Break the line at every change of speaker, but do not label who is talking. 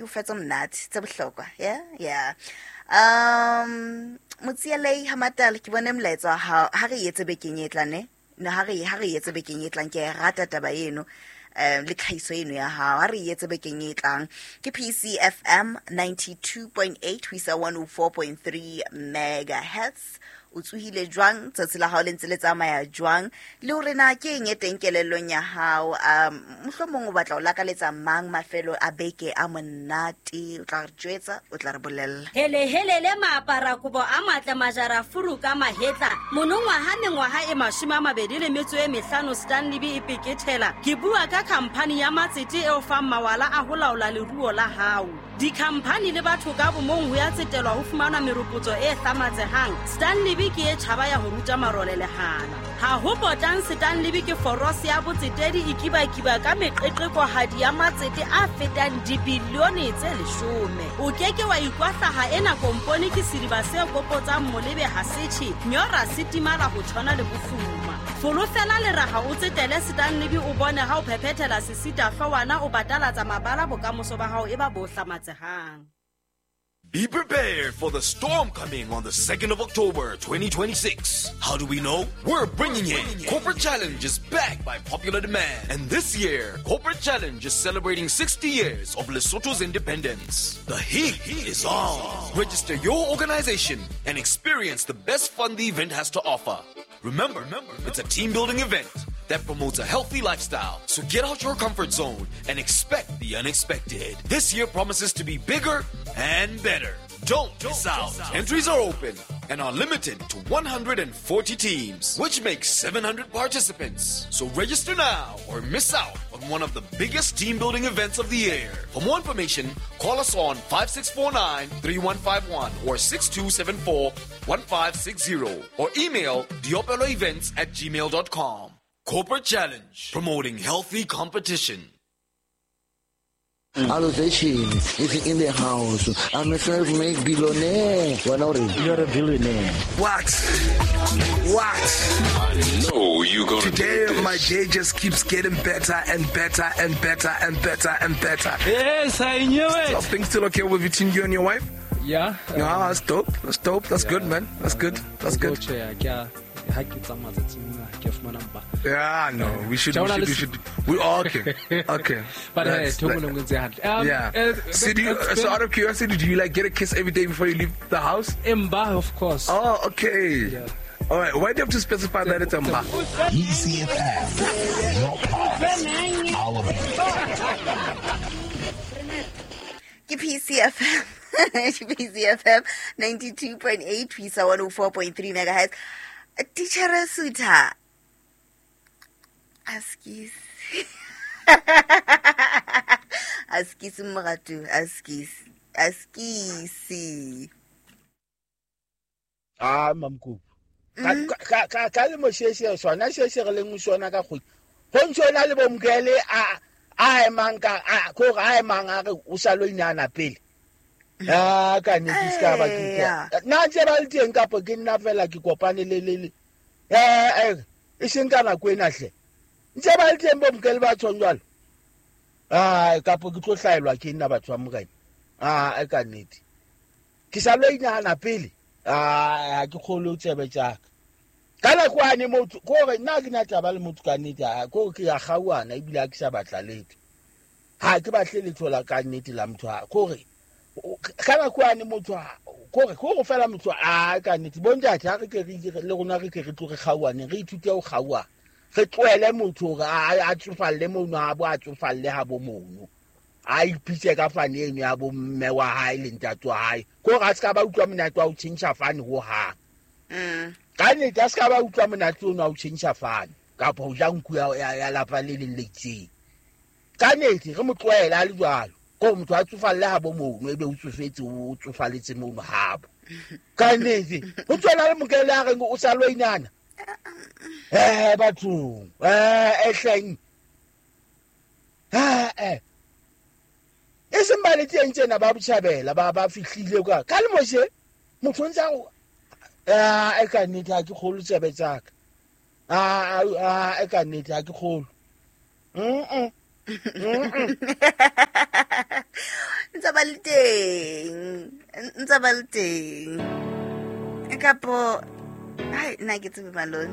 E o fa tse monate tse bohlokwa. Yeah, yeah. Motsielei Hamatala, ke bone molaetsa wa hao. Ha re etse bekeng e tlang, ne? No, ha re etse bekeng e tlang. Ke a e rata taba eno, le tlhahiso eno ya hao. Ha re etse bekeng e tlang. Ke PCFM 92.8 ho isa 104.3 megahertz. O tsohile jwang? Tsatsi la hao le ntse le tsamaya jwang? Le hore na ke eng e teng kelellong ya hao? Mohlomong o batla o lakaletsa mang mafelo a beke a monate? O tla re jwetsa, o tla re bolella.
Hele helele, maapara kobo a matle, majara furu ka mahetla. Monongwaha mengwaha e 25 Stanley e pekethela. Ke bua ka khamphani ya matsete e o fang mawala a ho laola leruo la hao. Dikhamphani le batho ka bomong ho ya tsetelwa ho fumana meropotso e hlamatsehang. Stanley ke e tjhaba ya ho ruta marole lehala. Ha ho potang, Stanley ke forose ya botsetedi e kibakiba ka meqeqekohadi ya matsete a fetang dibilione tse 10. O ke ke wa ikwahlaha. Ena kompone ke sediba se kopotsang molebe ha setjhe nyora se timala ho tshwana le bofuma. Folofela leraha, o tsetele Stanley, o bone ha o phephethela sesita hloohwana, o batalatsa mabala, bokamoso ba hao e ba bo hlamatsehang.
Be prepared for the storm coming on the 2nd of October 2026. How do we know? We're bringing it. Corporate Challenge is back by popular demand. And this year, Corporate Challenge is celebrating 60 years of Lesotho's independence. The heat is on. Register your organization and experience the best fun the event has to offer. Remember, it's a team building event that promotes a healthy lifestyle. So get out your comfort zone and expect the unexpected. This year promises to be bigger and better. Don't miss out. Entries are open and are limited to 140 teams, which makes 700 participants. So register now or miss out on one of the biggest team building events of the year. For more information, call us on 5649 3151 or 6274 1560 or email diopeloevents@gmail.com. Corporate Challenge, promoting healthy competition.
Allocation is in the house. I'm a self-made billionaire. Wena o reng?
You're a billionaire.
What? What?
I know you gonna
Today,
do this.
my day just keeps getting better and better and better and better and better.
Yes, I knew it.
Are things still okay with between you and your wife?
Yeah.
Yeah, that's dope. That's dope. That's good, man. That's good. That's good.
Tjhe, ke a ha ke tsamaya tsatsing lena, ke a fumana mpa.
Yeah, no, we should, we should, we should. We okay, okay.
But hey,
That's-
thoko le nngwe ntse hantle.
Yeah. So, do you, so out of curiosity, do you like get a kiss every day before you leave the house?
Emba, of course.
Oh, okay.
Yeah.
All right. Why do you have to specify that it's a mba?
ECFM, your pulse, our beat.
Ke PCFM, ke PCFM 92.8 ho isa 104.3 megahertz. Titjhere Sutha, askis, askis, moratu, askis, askisi.
Ah, mamkupu ka le mosheshe sona sheshe re leng sona ka kgwedi go ntse na le bomkele a emang ka a ko a emang a re o sa lo inana pele a ka nnete se ka ba ke nna ntse ba le teng kapo ke nna fela ke kopane le e seng ka nako ena hle ntse ba le teng bomkele ba tshong jwalo ai kapo ke tlo hlaelwa ke nna batho ba morena a ka nnete ke sa lo inahana pele a ke kgolo tsebe tsaka ka nako ane motho kore nna ke na taba le motho ka nnete kore ke ya kgauana ebile ha ke sa batla letho ha ke batle letho la ka nnete la motho kore ka nako ane motho kore fela motho a ka nnete bontate ha re ke re le rona re ke re tlo re kgauane re ithute ho kgauana re tlohele motho hore a tsofalle mono a bo a tsofalle ha bo mono a ipitse ka fane eno ya bo mme wa hae le ntate wa hae kore a se ka ba utlwa monate wa ho tjhentjha fane hohang. Ka nnete a se ka ba utlwa monate ono wa ho tjhentjha fane kapa ho ja nku ya lapa le leng le itseng. Ka nnete re mo tlohele a le jwalo kore motho a tsofalle ha bo mono ebe o tsofetse o tsofaletse mono habo. Ka nnete ho tswela le mokele a reng o sa lo inana bathong ehleng e seng ba le teng tsena ba botjhabela ba fihlile ka le moshe motho ntse a e ka nnete ha ke kgolo tsebe tsaka a e ka nnete ha ke kgolo.
Ntse ba le teng, ntse ba le teng. Kapo, hai, nna ke tsebe, malone.